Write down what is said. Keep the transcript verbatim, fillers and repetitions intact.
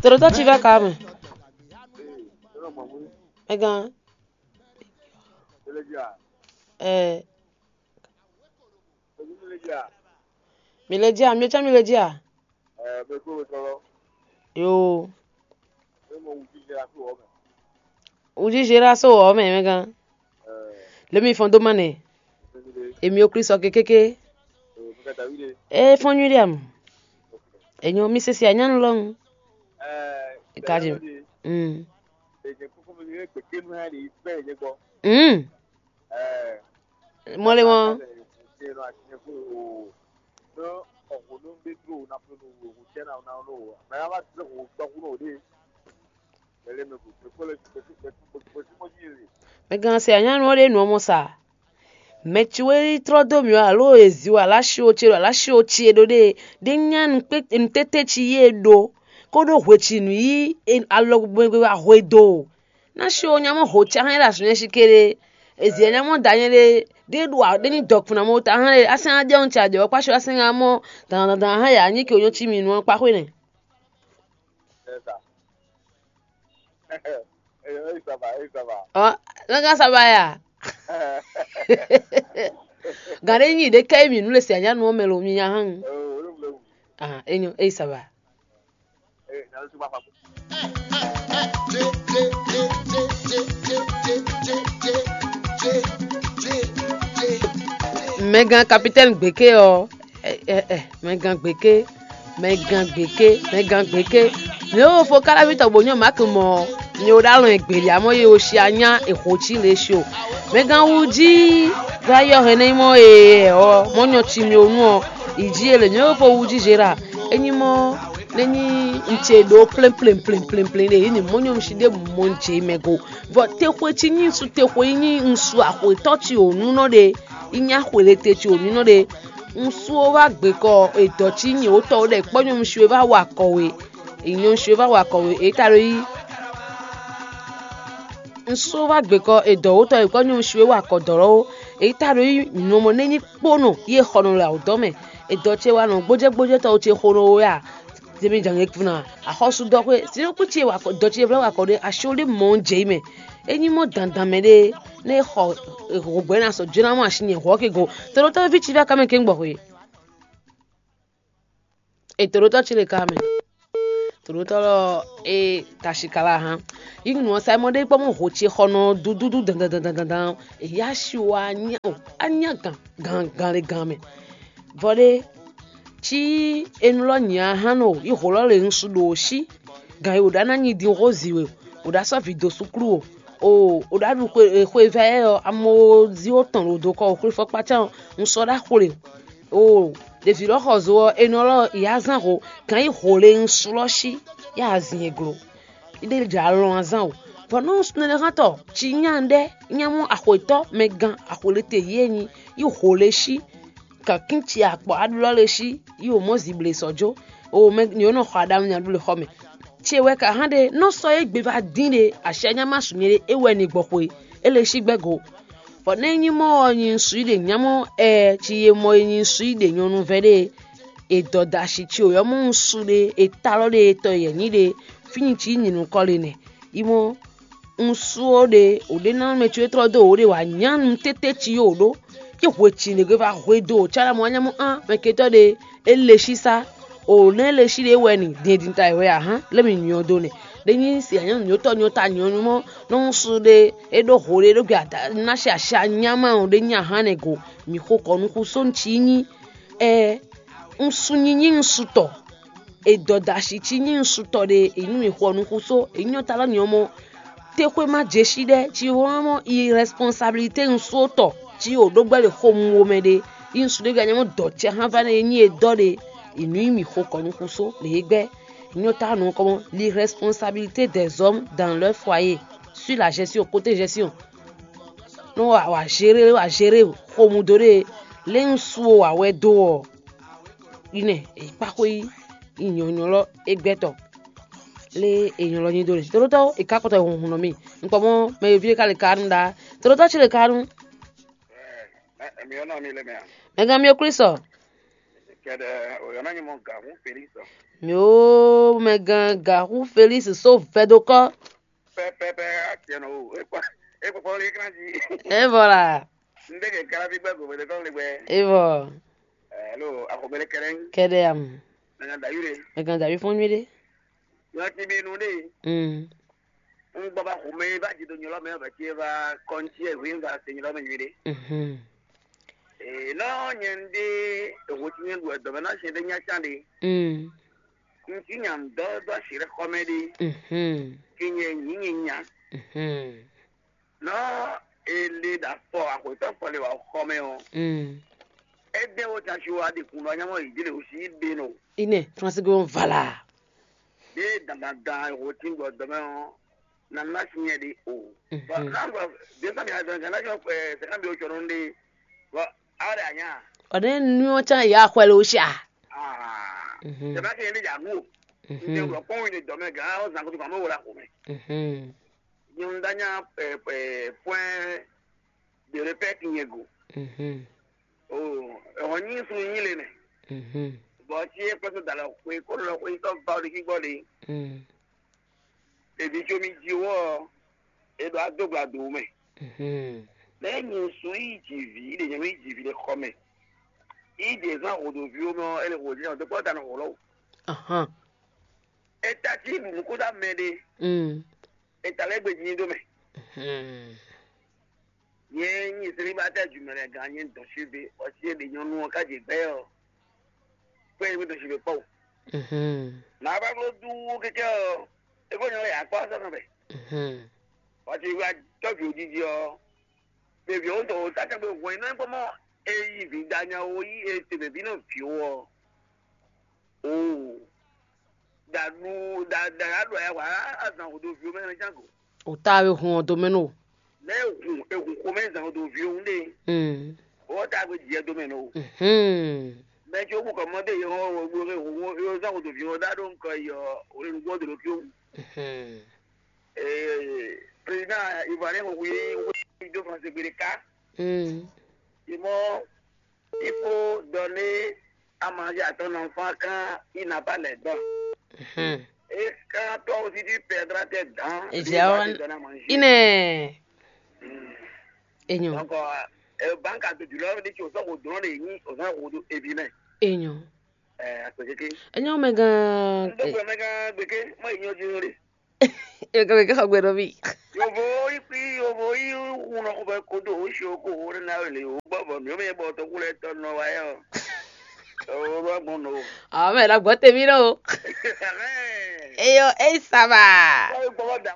Todotɔ ci vɛ ka mɛ. Mɛgán. Ɛ, mi le jí a? Mi ɔ́ cán mi le jí a? Yoo. Wújízé ɖo asó wɔ mɛ mɛgán. Lě mi fɔ́n dó má nɛ. Èmi ò Klísu ɔ́ kékéké. É fɔ́n nyuɖé ǎ mɔ. Ènyɔ mi se se anyánu lɔ́hún. Kaji. Mm. Mm. Mɔlɛ mɔ. Mɛgán se anyánu ɔ́ ɖe nǔ ɔ́ mɔ sa. Mɛ ci wɛ yi tlɔ́ dó mì ɔ́, alo e zi wɛ aláshi o ce ɖo aláshi o ce ɖó ɖe ɖé nya nǔtete ci yí e ɖó, kó ɖó hwecinu yí alɔ gbɛgbɛ wá hwe dó. Ná shi o nya mɔ ho ce ahɛn ɖo azɔ̌ nyɛ shi kéré. E zi nya mɔ da nyɛ ɖe ɖé ɖo a ɖé ní dɔkun ná mɔ ta hɛn ɖe asɛn ná jɛ ɔn ce a jɛ ɔkpa shi asɛn ná mɔ dan dan dan hɛn ya nyí ke o nyɔ ci mi nu ɔn kpa xwe nɛ. Ɔ, nɔ gán saba ya. Gǎn ɖé nyi ɖě ká yi mǐ nú le se anyánu ɔ́ mɛ lo mi nya hán. Ah, enyo, eyi saba. Mɛgán kapitɛ́ni gběké ɔ́, ɛ, ɛ, ɛ, mɛgán gběké, mɛgán gběké, mɛgán gběké. Mǐ ó fo káláví tɔgbo nyɔ́ Maak mɔ, mi ó ɖó alɔn e gběɖi amɔ́ ye ó shi anyá e hǒ cí le shi o. Mɛgán wú jí, vayɔ hɛn nɛ mɔ e ɔ mɔ nyɔ ci mi ó nu ɔ, yi jí e lě nyɔ́ ó fo wú jí Zera. É nyí mɔ nɛ́ nyí un ce ɖó plɛ́nplɛ́nplɛ́nplɛ́n ɖe yě ní mɔ nyɔ un si ɖé mɔ un jɛ mɛ go. Vɔ texwe cí nyí un su texwe yi nyí un su axwetɔ́ ci wǒ nú nɔ ɖe, yi nyí axwelete ci wǒ nú nɔ ɖe. Un su ó wá gbekɔ edɔ̌ cí nyǐwótɔ́ ɖɛ kpɔ́ nyɔ́nu si wɛ vá wa kɔ we. Nyɔ́nu si wɛ vá wa kɔ we, èyí ta ɖo yí. Un su ó wá gbekɔ edɔ̌wótɔ́ e kpɔ́ nyɔ́nu si wɛ wa kɔ dɔ̌ lɔ́wọ́, èyí ta ɖo yí nǔ mɔ nɛ́ nyí kpónɔ yí e xɔ nɔ le awǔdɔ́ mɛ. Edɔ̌ ce wa nɔ gbójɛ́gbójɛ́tɔ́ ce xo nɔ we a? Zemi jǎn nyɛ kpuna axɔ́súdɔxwé sinúkú ce wa dɔ ce vlɛ́ wa kɔ ɖé asi ɖé mɔ jɛ yi mɛ. É nyí mɔ dandan mɛ ɖé nɛ xɔ hǒgbɛ́ ná sɔ jóná mɔ asi nyɛ hɔ́ ke go. Todotɔ ví ci vɛ ká mɛ ké gbɔ xwe. E todotɔ ci le ká mɛ. Todotɔ lɔ e tashi ka la hán. Yi nu ɔsa mɔ ɖé kpɔ mɔ ho ce xɔ nɔ dúdúdú dandan dandan dandan. Eya si wa anya o anya gan gan gan le gan mɛ. Vɔ ɖé, cí enu lɔ nyi ahán nɔ yi hǒ lɔ le ŋsu ɖo sí, gan e wǒ ɖá ná nyi din xó zi we, wǒ ɖá sɔ́ vǐ dó súklu o, o wǒ ɖá ɖu xwe vɛ́ ɔ́, amɔzi ó tɔn ɖo do kɔ xwlé fɔkpácán ɔ́, un sɔ́ ɖá xwle o. Ɖevi lɔ xɔ zo ɔ́, enɔ lɔ yi azán ho, gan yi hǒ le ŋsu lɔ sí, yi azin e glo. Ɖé jɛ alɔn azán o. Vɔ nú nɛnɛxántɔ ci nya ɖɛ nya mɔ axwetɔ́ mɛgán axwelete yi e nyi yi hǒ le sí, kankín ci akpɔ aɖlɔ́ le sí, yi wǒ mɔ zible sɔ́ jó, o mɛ ni wǒ nɔ xɔ aɖaŋu nya ɖu le xɔ mɛ. Ce wɛ ka hán ɖe nɔ sɔ́ égbé vá dín ɖe asi anya ma su nyɛ ɖe é wɛ ni gbɔ xwe, é le sí gbɛ́ go. Bɔ nɛ́ nyí mɔ ɔ́ nyi un su yi ɖe nyamɔ ɛ ci e mɔ e nyi un su yi ɖe nyɔnu vɛ́ ɖe e dɔdashi ci wǒ ɔ́ mɔ un su ɖe e talɔ ɖe e tɔ yɛ nyí ɖe fínyi ci nyǐ nukɔn le nɛ. Yi mɔ un su ó ɖe wǒ ɖe ná mɛ ci e tlɔ́ dó wǒ ɖe wǎ nyá nu tété ci yó wǒ ɖó. Ci hwe ci ɖě gbe va hwe dó wǒ cála mɔ wá nyá mɔ án mɛ ketɔ́ ɖe é le sísá. O nɛ́ le sí ɖě wɛ ni din e din ta wɛ ahán lé mi nyɔ do nɛ. Ɖé nyí si anyɔ́ nyɔ́tɔ́ nyɔ́ta nyɔ́nu mɔ nɔ un su ɖe é ɖó ho ɖé ɖó gbé ada ná ṣe aṣa nyáma ɔ́ ɖé nyí ahán nɛ go. Mǐ xo kɔ nú xú só un cí nyí ɛ un su nyí nyí un su tɔ. E dɔdashi cí nyí un su tɔ ɖe è nú mǐ xɔ nú xú só è nyɔ́ ta lɔ nyɔ́ mɔ. Texwe má jɛ sí ɖɛ́ ci wlán mɔ irresponsabilité un só tɔ ci o ɖó gbɛ́ ɖe xo mu wo mɛ ɖe. Yi un su ɖé gǎ nyɔ́ mɔ dɔ cɛ hán vá nɛ e nyí e dɔ ɖe. Inu yi mi xo kɔ nú xúsó lě e gbɛ́. Nyɔ ta nɔ kɔmɔ l'irresponsabilité des hommes dans leur foyer sur la gestion, côté gestion. Nú wà wà gérer wà gérer xomudó ɖé lé un su wà wɛ dó ɔ. Inɛ èyí kpáxwé yi nyɔ̌nyɔ́ lɔ é gbɛtɔ lé ènyɔ́ lɔ nyi dó ɖe tototɔ è ká kɔtɔ hun nɔ mì. Un kpɔ mɔ mɛ e ví ɖé ka le ka nu ɖá. Tototɔ ci le ka nu. Mɛ gán mi ɔ Klísu. Kɛɖɛ, o yɔ na nyɛ mɔ gǎn hún Felix ɔ. Mio mɛgán Gahú Felix só vɛdokɔ. Pɛpɛpɛ, atiɛnɔ o, ekpɔ ekpɔ lé kan jí. Evɔ la. Ndé ke kala bí gbɛ gòmè de kɔn lé gbɛ. Evɔ. Ɛlo, axɔmɛlɛ kɛrɛ. Kɛɖɛ am. Mɛgán Dayúre. Mɛgán Dayúre fún nyuɖe. Yɔ ti bí nu ɖe. Mm. Un gbɔ ba xɔmɛ ba jí do nyɔlɔ mɛ ba jí ba kɔnci e hwin ba se nyɔlɔ mɛ nyuɖe. Mhm. E nɔ nyɛ ndé eho ti nyɛ ɖu ɛdɔ mɛ na sɛn ɖe nya can ɖe. Mm. Ŋutsu nya ŋdɔ dó asi ɖe xɔmɛ ɖe. Mhm. Ke nyɛ nyi nyi nya. Mhm. Nɔ ele ɖo afɔ axɔtɔ fɔ le wa xɔmɛ ɔ. Mm. Ede wo tasi wa ɖe kun ɖɔ nyamɔ yi ɖe o si ɖe nɔ. Ine, Francis Gomez vala. Ɖe dandandan wo ti gbɔ dɔmɛ ɔ, na na si nyɛ ɖe o. Mhm. Bɔ na bɔ de sa mi adɔn kan na jɔ ɛ sɛ kan bi o tsɔ nɔ ɖe. Bɔ awo ɖe anya. Ɔne nuɔ can ya xwɛ lo sha. Ah. Mhm. Sɛ ba ke ne ja nu o. Mhm. Nde wɔ kpɔn wi ne dɔmɛ gan o zan ko to kan mo wala ko mɛ. Mhm. Nyɔnu da nya ɛ ɛ point de répète nyɛ go. Mhm. O, ɛhɔn nyi sun nyi le nɛ. Mhm. Bɔ ti e kpɛtɛ da lɔ xwe ko lɔ xwe tɔ ba o de ki gbɔ de. Mm. Evi tso mi ji wɔ e ɖo ado gba do mɛ. Mhm. Lɛ nyi sun yi ji vi de nyɛ mi ji vi de xɔ mɛ. Yi de zan hodo vi o mɛ ɔ ele ho de nyɛ de kpɔ da na ho lɔ. Ahan. E ta ti nu ko da mɛ de. Mm. E ta lɛ gbe ji do mɛ. Mhm. Nyɛ nyi selibatɛ jumɛlɛ gan nyɛ dɔn si be ɔsi e ɖe nyɔnu ɔ ka je gbɛ ɔ. Kpɛ yi mi dɔn si be kpɔ. Mhm. Na ba ko du keke ɔ. E ko nyɔ ya kpɔ sɔ kan bɛ. Mhm. Ɔsi wa tɔbi o jiji ɔ. Bèbí o tɔ o ta kan be wɔ iná kpɔ mɔ e yi vi da nya o yi e te bèbí nɔ vi o ɔ. Oo. Da nu da da ya ɖo ya wa azan o do vi o mɛ ne jango. O ta we hun ɔ do mɛ no. Ne ehun ehun xomɛ zan o do vi o un ɖe. Mm. O ta gbe jɛ do mɛ no. Mhm. Mɛ tso bu kɔmɔ de yɔ o gbo ke o o zan o do vi o da ɖo nkɔ yɔ o le nugbɔ do lo fi o. Mhm. Ee, président ivoirien ko wi wi do français gbede ka. Mm. Imɔ Il faut donner à manger à ton enfant quand il n'a pas les dents. Mhm. Et quand toi aussi tu perdras tes dents, Ezia lui va wan te donner à manger. Ine. Mm. Enyo. Donc, euh, euh, banque a de l'or, dit que au sort au don de ni, au sort au do ebi mɛ. Enyo. Euh, à ce que Enyo mega. Donc, euh, mega beke, moi il y a du riz. Eka eka xɔ gbe ɖo mì. Yovo yi kpi yovo yi hunɔ xɔ bɛ kodo o si o ko o ɖe na le o gbɔ bɔ mi o mi bɔ tɔku lɛ tɔ nɔ wa yɛ o. O ɖo agbɔn nɔ o. Ame la gbɔ temi ɖo. Eyo eyi saba. Wa yi gbɔ da.